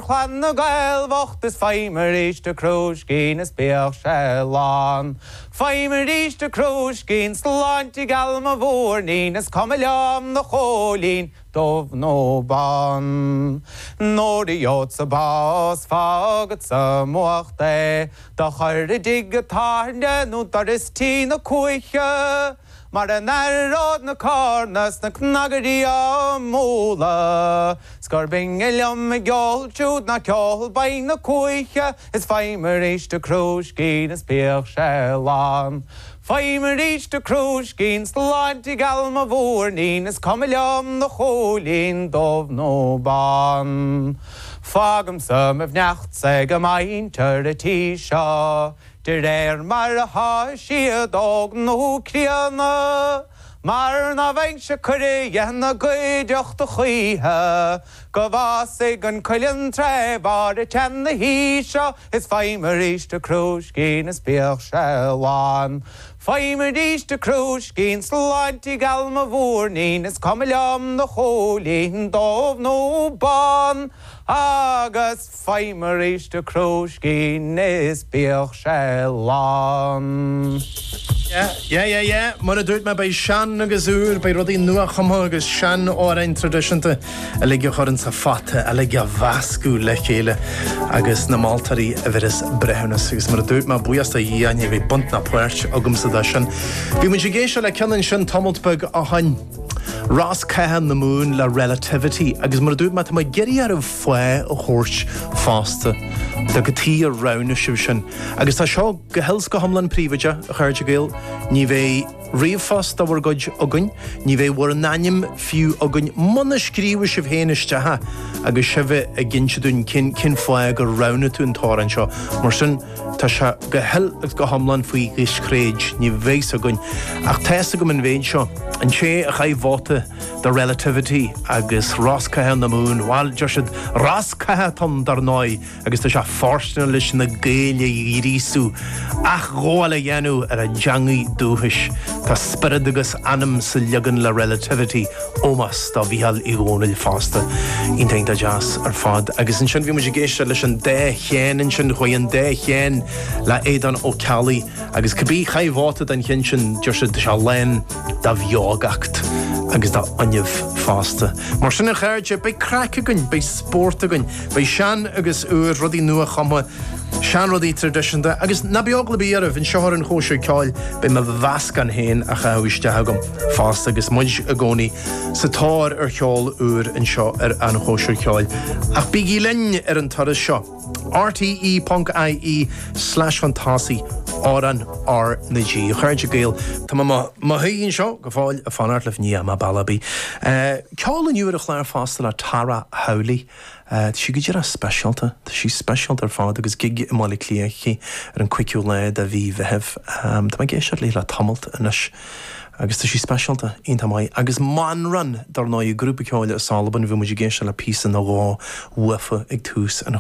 Chlann na nGael bhocht is faighim arís a crúiscín is bíodh sé lán. Faighim arís a crúiscín sláinte geal mo mhúirnín is cuma liom do chóilín dubh nó bán. Nuair a gheobhadsa bás fágadsa m'uacht é do chur i dtigh a' tábhairne nó doras tí na cuaiche. Mar a n-aireod na corna 's na cnagairí á mbualadh 's gur binne liom a gceol siúd ná ceol boinn na cuaiche is faighim arís a crúiscín is bíodh sé lán. Faighim arís a crúiscín sláinte gheal mo mhúirnín is cuma liom do chóilín dubh nó bán. Fágaimse mo bheannachtsa ag muintir a' tí seo De réir mar athá siad óg nó críonna, mar ná bhfaighinn-se cuireadh ina gcuideachta choíche, go bhfásfaidh an cuileann tré bharr a tseana-haoise, is faighim arís a crúiscín is bíodh sé lán. Faighim arís a crúiscín, sláinte gheal mo mhúirnín, is cuma liom do chóilín dubh nó bán, agus. Faighim arís a crúiscín is bíodh sé lán. Yeah, yeah, yeah, yeah. Mar a dúirt mé, beidh sean agus úr, beidh rudaí nua-chumtha agus sean-amhráin traidisiúnta uilig a chur insa phota, uilig a mheascadh le chéile agus na moltóirí a bheir breithiúnas. Agus mar a dúirt mé, buíochas do Dhia, ní bheidh baint ná páirt agamsa de sin. Bhí muid ag éisteacht le ceann ansin tamalt beag ó shoin, Rosc Catha na Mumhan le Relativity agus mar a dúirt mé, tá mé ag iarraidh oraibh fáth a thabhairt fosta do cad chuige ar roghnaigh sibh sin. Agus tá seo go huile 's go hiomlán príobháideach, a chairde Gael, ní bheidh ríomhphost de bhur gcuid againn, ní bheidh bhur n-ainm fiú againn muna scríobhfaidh sibh féin isteach é agus sibh ag inse dúinn cén cén fáth gur roghnaigh tú an t-amhrán seo. Mar sin, tá sé go huile agus go hiomlán faoi dhiscréid, ní bheidh 's againn. Ach tá 'fhios agam an mhéid seo, an té a chaith vóta do Relativity agus Rosc Catha na Mumhan, bhuel, deir siad rosc catha atá ann dar ndóigh agus tá sé fóirsteanach leis na Gaeil a ghríosú athghabháil a dhéanamh ar a dteangaidh dúchais. Tá spiorad agus anam sa leagan le Relativity, ómós do Mhícheál Uí Dhónaill fosta. Iontach iontach deas ar fad. Agus ansin bhí muid ag éisteacht leis an dá cheann ansin, chuaigh an dá cheann le Aodán Ó Ceallaigh agus cibé chaith vóta don cheann sin, deir siad, tá sé lán de bheogacht agus de fhuinneamh fosta. Mar sin a chairde, beidh craic againn, beidh spórt againn, beidh sean agus úr, rudaí nua-chumtha, seanrudaí traidisiúnta agus ná bíodh eagla ar bith oraibh, anseo ar an Chóisir Ceoil beidh mo mheascán féin á chaitheamh isteach agam fosta agus muid i gcónaí sa tóir ar cheol úr anseo ar an Chóisir Ceoil. Ach bígí linn ar an turas seo! rte.ie slash chun tosaigh amhrán R na G. A chairde Gael, tá mé i mo shuí anseo go fóill ag fanacht libh, ní dheachaigh mé bealach ar bith. Ceol inniu ar an chlár fosta le Tara Howley. Tá sí go díreach speisialta, tá sí speisialta ar fad agus gig i mBaile Átha Cliath aici ar an 5ú lá de mhí Mheithimh. Tá mé ag éisteacht léi le tamalt anois agus tá sí speisialta, iontach maith. Agus Manran, dar ndóigh, grúpa ceoil as Albain, bhí muid ag éisteacht le píosa nó dhó uafa ag tús an.